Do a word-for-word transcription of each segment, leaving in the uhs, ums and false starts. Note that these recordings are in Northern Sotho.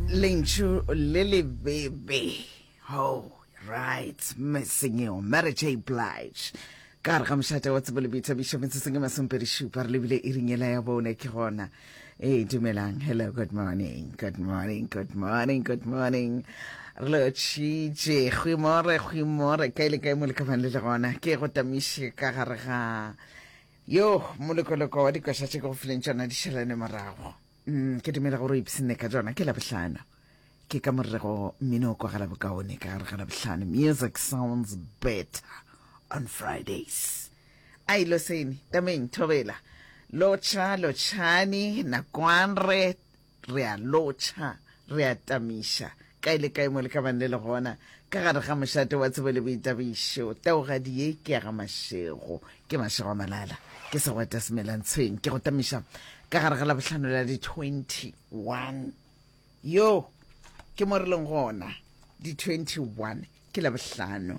Lentšu le lebebe. Oh, right, missing you, Mary J. Blige. Ka gare ga mošate wa tsebo le boithabišo metsotsong e masomepedi šupa re lebile iring yela ya bone ke gona. Ee, dumelang. Hello, good morning. Good morning, good morning, good morning. Re lotšhitše. Goeiemôre, goeiemôre. Kae le kae mo le ka bang le le gona. Ke go tamiše ka gare ga yo molokoloko wa dikoša tše ke go fileng tšona di šalane morago. Mm, ke dumela gore o ipshinne ka tšona ke Labohlano. Ke ka morego mmino o kwagala bokaone ka gare ga Labohlano. Music sounds better on Fridays. Ai loseni, tameng, thobela. Lotšha, lotšhani, nakwanre, re a lotšha, re a tamiša. Kae le kae mo le ka bang le le gona, ka gare ga mošate wa tsebo le boithabišo. Taugadi ye ke ya ga Mashego, ke Mashego a Malala, ke segwata semelantshweng, ke go tamiša ka gare ga Labohlano la di twenty-one. Yo, ke mo re leng gona, di twenty-one ke Labohlano.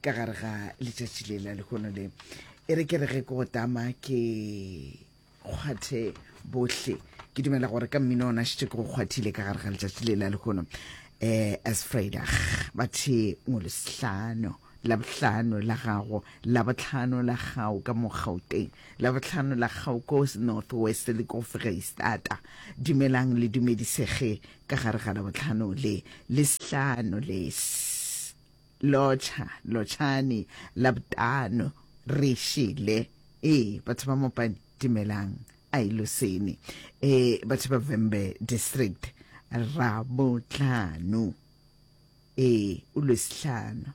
Ka gare ga letšatši le la lehono le, e re ke re ge ke go tama ke kgwathe bohle. Ke dumela gore ka mmino ona šetše ke go kgwathile ka gare ga letšatši le la lehono. Eh, as Vrydag, bathe ngolosihlano, Labohlano la gago, Labohlano la gago ka mo Gauteng, Labohlano la gago ko North West le ko Freistata. Dumelang le dumedisege ka gare ga Labohlano le, le sehlano le lotšha, lotšhani, Labotano, re šele. Ee, batho ba Mopani, dumelang, ai losene. Ee, batho ba Vhembe District, Rabohlano. Ee, o lwesihlano.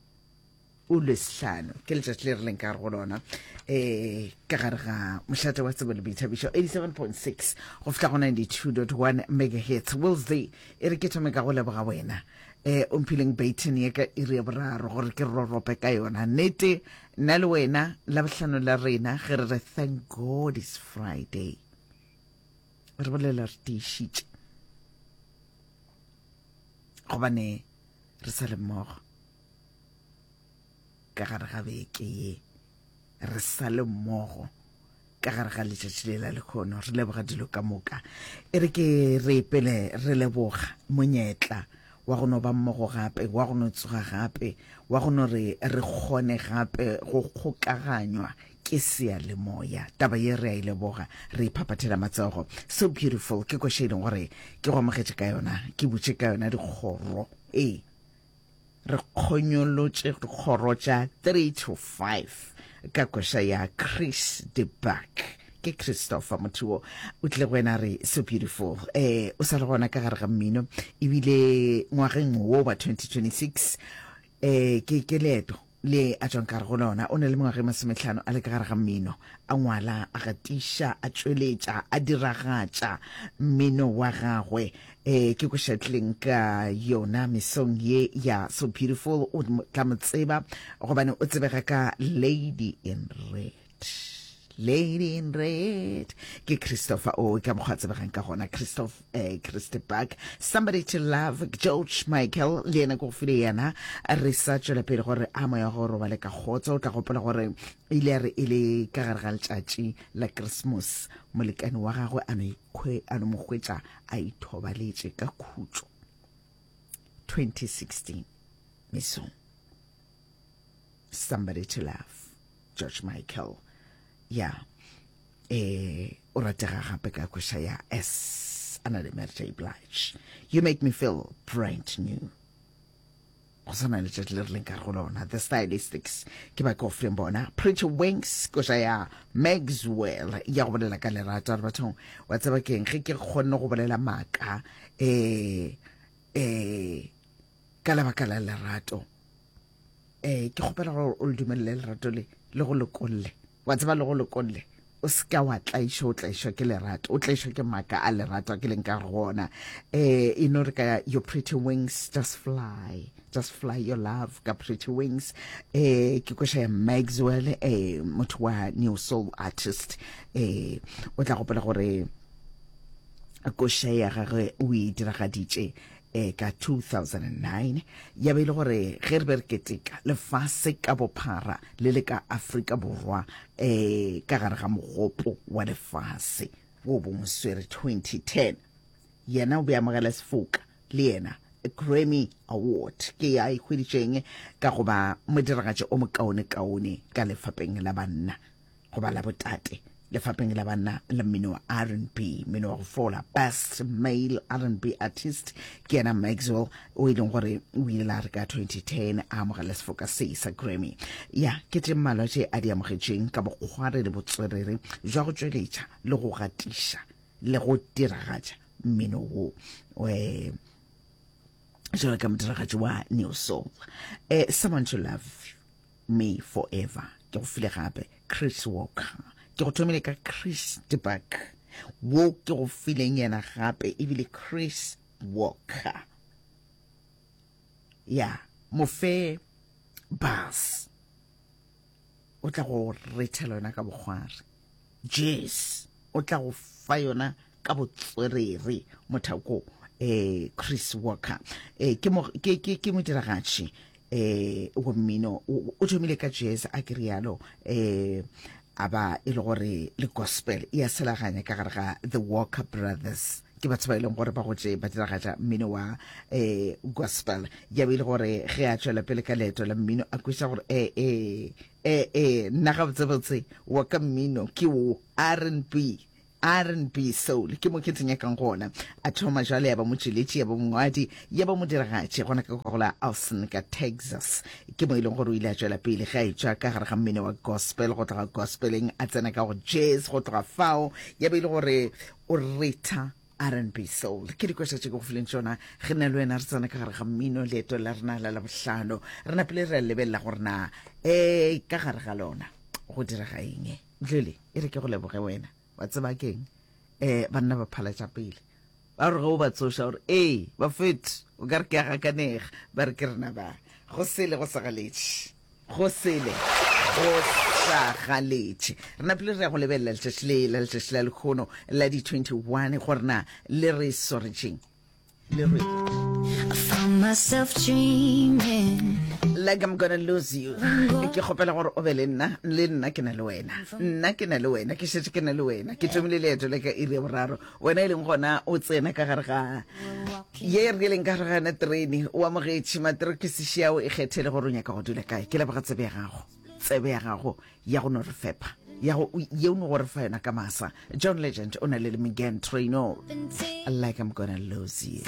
O lwesihlano. Ke letšatši le re leng ka gare go lona. Ee, ka gare ga mošate wa tsebo le boithabišo eighty-seven point six go fihla go ninety-two point one megahertz. Wednesday, e re ke thome ka go leboga wena. Eh, o mphileng Baton ye ka iri ya boraro gore ke rorope ka yona. Nnete, nna le wena, Labohlano la rena, ge re re thank God it's Friday. Re bolela re tiišitše. Gobane re sa le mmogo. Ka gare ga beke ye, re sa le mmogo. Ka gare ga letšatši le la lehono, re leboga dilo ka moka. E re ke re pele re leboga monyetla wa go no ba mmogo gape, wa go no tsoga gape, wa go no re re kgone gape go kgokaganywa ke seyalemoya. Taba ye re a e leboga, re iphapathela matsogo. So beautiful, ke koša e leng gore ke go amogetše ka yona, ke butše ka yona dikgoro. Ee, re kgonyolotše dikgoro tša three to five ka koša ya Chris de Buck. Ke Christopher motho wo o tlile go wena re so beautiful. Eh, o sa le gona ka gare ga mmino ebile ngwageng wo wa twenty twenty-six, eh, ke, ke leeto le a tšwang ka gare go lona. O na le mengwaga e masomehlano a le ka gare ga mmino, a ngwala, a gatiša, a tšweletša, a diragatša mmino wa gagwe. Eh, ke koša tlileng ka yona mesong ye ya So Beautiful. O tla mo tseba gobane o tsebega ka Lady in Red. Lady in Red ke Christopher o ka mokgwa tsebegang ka gona, Christoph, eh, Christy Buck, Somebody to Love, George Michael le yena ke go file yena. Re sa tšwela pele gore a moya go robale ka kgotso. O tla gopola gore ile ya re e le ka gare ga letšatši la Christmas, molekane wa gagwe a no ikhwe, a no mo hwetša a ithobaletše ka khutšo. twenty sixteen mesong, Somebody to Love, George Michael. Ya, eh, o ratega gape ka koša ya S, a na le Mary J. Blige. You Make Me Feel Brand New. Go swana le letšatši le re leng ka go lona. The Stylistics ke ba ke go fileng bona. Pretty Wings, koša ya Maxwell ya go bolela ka lerato. Re bathong, wa tseba keng, ge ke kgonne go bolela maaka, eh, eh, ka lebaka la lerato, eh, ke kgopela gore o le dumelele lerato le, le go lokolle. Wa tseba le go lokolle, o se ka wa tlaišwa, o tlaišwa ke lerato, o tlaišwa ke maaka a lerato a ke leng ka go ona. Eh, e no re ka Your Pretty Wings, just fly, just fly your love ka Pretty Wings. Eh, ke koša ya Maxwell, eh, motho wa New Soul artist. Eh, o tla gopola gore koša ya gagwe o e diragaditše, eh, ka two thousand and nine. Ya be e le gore ge re be re keteka lefase ka bophara le le ka Afrika Borwa, eh, ka gare ga mogopo wa lefase wo bo moswere twenty ten. Yena o be amogela sefoka le yena Grammy Award ke ya e hweditšeng ka go ba modiragatši o mokaonekaone ka lefapeng la banna goba la botate lefapeng la banna la mmino wa R and B, mmino wa go fola, best male R and B artist ke yena Maxwell o e leng gore o ile la re ka twenty ten a amogela sefoka se sa Grammy. Ya ke tše mmalwa tše a di amogetšeng ka bokgware le botswerere jwa go tšweletša le go gatiša le go diragatša mmino wo eh jalo ka modiragatši wa Neo Soul. Eh, Someone to Love Me Forever ke go file gape Chris Walker, ke go thomile ka Chris DeBuck wo ke go fileng yena gape ebile Chris Walker ya mofe bus o tla go rethela yona ka bokgware, jazz o tla go fa yona ka botswerere mothako eh Chris Walker eh ke mo ke ke ke modiragatši eh wa mmino o thomile ka jazz a ke rialo eh a ba e le gore le gospel ya selaganya ka gare ga The Walker Brothers ke batho ba e leng gore ba gotše ba diragatša mmino wa eh gospel ya be e le gore ge a tšwela pele ka leeto la mmino a kweša gore eh eh eh eh nna gabotsebotse wa ka mmino ke wo R and B R and B soul ke mo ke tsenyakang gona. A thoma jwale ya ba motšweletši ya ba mongwadi ya ba modiragatši gona ka go la Austin ka Texas ke mo e leng gore o ile a tšwela pele ge a etšwa ka gare ga mmino wa gospel go tloga gospeleng a tsena ka go jazz go tloga fao ya be e le gore o retha R and B soul. Ke dikoša tše ke go fileng tšona ge nna le wena re tsena ka gare ga mmino leeto la rena la Labohlano re napile re a lebelela gore na um ka gare ga lona go direga eng. Dlele e re ke go leboge wena wa tseba keng eh banna ba phala tša pele ba re ge o ba tsoša gore ee ba fet o ka re ke a gakanega ba re ke rena ba go sele go sa galetše go sele go sa galetše re napile re ya go lebelela letšatši le la letšatši la lekgono la di twenty-one gore na le re swaretšeng le re I found myself dreaming like I'm gonna lose you. Ke kgopela gore o be le nna le nna ke na le wena nna ke na le wena ke šetše ke na le wena ke thomile leeto le ka iri ya boraro wena e leng gona o tsena ka gare ga ye re leng ka gare ga yona terene o amogetše materokisiši ao e kgethele gore o nyaka go dula kae. Ke leboga tsebe ya gago tsebe ya gago ya go no re fepa ya go ye o no go re fa yona ka masa. John Legend o na le le Meghan Trainor, like I'm gonna lose you.